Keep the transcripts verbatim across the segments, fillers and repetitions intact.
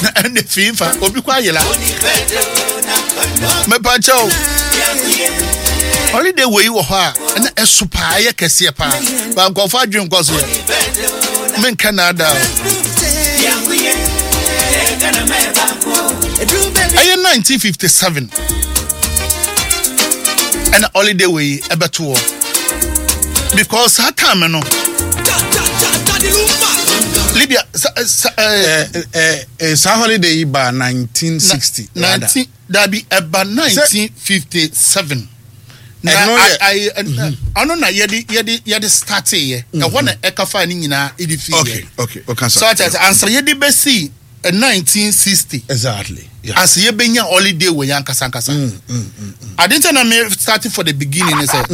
Na ɛne fii fa obi kɔ ayela. Mepakyɛw, holiday wei wɔ hɔ a ɛna ɛso paa, ɛyɛ kɛseɛ paa, ba nkɔfo adwene nkɔ so yɛ menka naadaa o. Ɛyɛ nineteen fifty-seven ɛna holiday wei ɛbɛto hɔ, because saa time no Libya sa, sa, eh, Eh, eh, eh, saa holiday yi ba nineteen sixty rather. nineteen dabi, ɛba nineteen fifty-seven na Ɛno yɛ- I- I- ɔno na yɛde yɛde yɛde start yɛ ɛhɔ na ɛka fa ne nyinaa ɛde fi yɛ. okay okay okay So ati ase ansa yɛde bɛsi eh, nineteen sixty exactly yeah. ansa yɛbɛnya holiday wɔ yɛn ankasa ankasa. Ade nti na me start for the beginning ne sɛ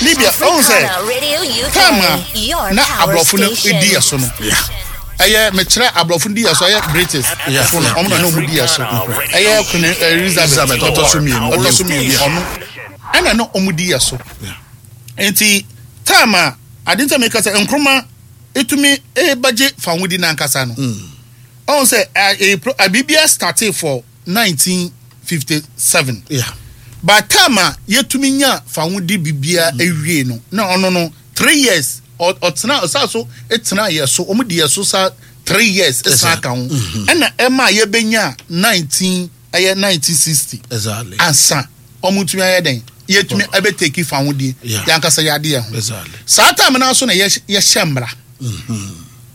Libya ɔhun sɛ Africana Radio U K, time a your na power aborɔfo no station. di yɛ so no, ɛyɛ mekyerɛ aborɔfo no di yɛ so, ɛyɛ British Yeah, fo no, yeah, ɔmo na na ɔmo di yɛ so, ɛyɛ Queen Elizabeth Elizabeth ɔtɔ so mmienu. Ɔtɔ so mmienu, ɔno ɛna na ɔmo di yɛ so. Yeah. Nti time a ade nti a meka sɛ Nkrumah etumi ebagye fawodi n'ankasa no, ɔn sɛ ɛ ɛ pro- ɛ biribiara started for nineteen fifty-seven. Yeah. By time a yɛtumi nya fawodi biribiara ewie no, na ɔno no three years ɔ- ɔtena ɔsa so etena yɛ so, ɔmo di yɛ so sa three years esan aka ho, ɛna ɛma yɛbɛnya nineteen ɛyɛ nineteen sixty Exactly. ansa ɔmo tumi ayɛ dɛn, yɛtumi ɛbɛ take fawodi Yeah. yɛankasa yɛade yɛn ho. Exactly. Saa time naa so na yɛhyɛ yɛhyɛ mmara.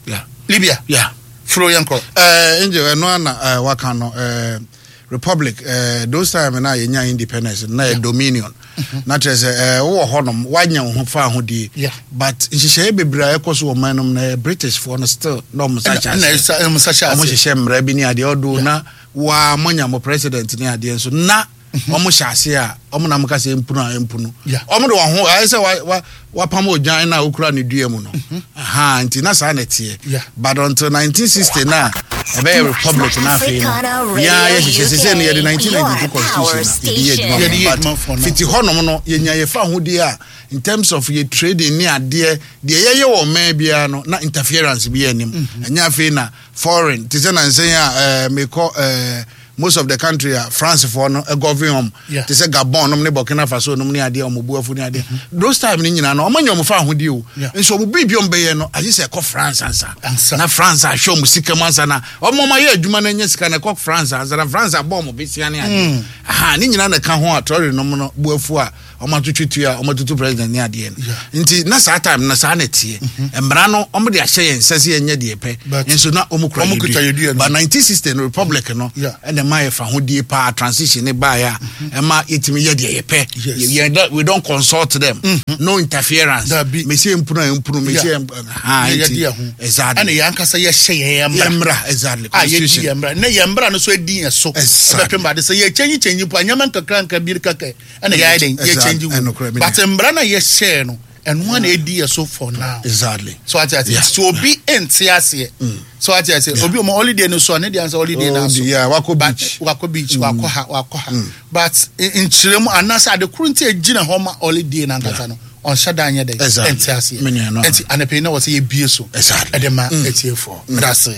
Yeah. Libya Yeah. furo yɛn kɔ. Uh, Angel, ɛno ana uh, waka no uh, republic, uh, those time na yɛnya independence na yɛ dominion, na kyerɛ sɛ uh, wowɔ hɔnom, woanya wo ho fa ahodie, Yeah. but nhyehyɛeɛ bebree a ɛkɔ so wɔ man no mu na yɛ British foɔ no still na ɔmo sa hyɛ ɛna aseɛ. ɛsa ɛmo sa hyɛ Ɔmo aseɛ. hyehyɛ mmara bi ne adeɛ ɔdo na waa moanya mo president ne adeɛ nso na ɔmo hyɛ ase a ɔmo nam ka sɛ mpunu a mpunu. Yeah. Ɔmo de wɔn ho ayɛ sɛ wa wa wapam odwan na okura ne dua mu no aha, nti na saa na ɛteɛ. Yeah. But until nineteen sixty na ɛbɛyɛ republic na afei no Africana Radio yɛa yɛhyehyɛ sɛ sɛ no yɛde U K, nineteen ninety-two your constitution na yɛde yɛ power adwuma. Yɛde yɛ But adwuma for now. fiti hɔnom no yɛnya yɛfa ahodie a in terms of yɛ trading ne adeɛ deɛ yɛyɛ wɔ ɔman biara no na interference bi yɛ anim. Ɛnyɛ afei na foreign te sɛ nansɛn a ɛɛ mekɔ ɛɛ most of the country a France foɔ no govern wɔn Yeah. te sɛ Gabon nom ne Burkina Faso nom ne adeɛ, ɔmo bu afu ne adeɛ, those time ne nyinaa no ɔmo anya ɔmo fa ahodie o. Yeah. Nso ɔmo biribi ɔmo bɛyɛ no agye sɛ ɛkɔ France ansa Ansa. na France ahwɛ ɔmo sika mu ansa na ɔmo ɔmo ayɛ adwuma no anya sika na ɛkɔ France ansa na France abɔ ɔmo besia ne adeɛ aha ne nyinaa na ɛka ho a Traore nom no bu afu a ɔmo atwitwi tua a ɔmo atutu president ne adeɛ no. Nti na saa time na saa na ɛteɛ, mmara no ɔmo de ahyɛ yɛn nsa sɛ yɛnyɛ deɛ pɛ But nso na ɔmo kura ɔmo yɛ kuta yɛ dua no. but nineteen sixty no republic no Yeah. ɛna ɛma yɛ fa hodie paa, transition ne baeɛ a ɛma yɛtumi yɛ deɛ yɛpɛ. Yes. Yɛ- yɛ- we don't consult them, no interference. Dabi. Mesie mpunu a mpunu mesie Yeah. ha na nti yɛde yɛ ho exactly ɛna yɛn ankasa yɛhyɛ yɛn yɛ mmara mmra exactly a yɛdi constitution. yɛn mmara na yɛn mmara no so edi yɛn so. Exactly. Ɛbɛpem baade sɛ yɛ kyɛnyi kyɛnyi po anyɛma nkakra nkra bi kaka ɛna yɛayɛ den yɛ Exactly. kyɛnyi Ɛnokorɛ, wo me but mmara no a yɛhyɛɛ no, ɛno a na edi yɛ so for now. Exactly so ate ase Yeah. so obi nte aseɛ, so ate ase obi ɔmo holiday no so a ne deɛ ansa holiday na Oh, so yeah, wakɔ But- beach. Wakɔ beach, wakɔ ha, wakɔ ha, but nkyerɛ mu anaasɛ ade koro nti egyina hɔ ma holiday na ankasa no ɔnhyɛ da nyɛ dɛ Exactly. ɛnte aseɛ. Me nua no. Ɛnti anapɛ yi na wɔ sɛ yɛbie so Exactly. ɛde ma etiefoɔ. Meda ase.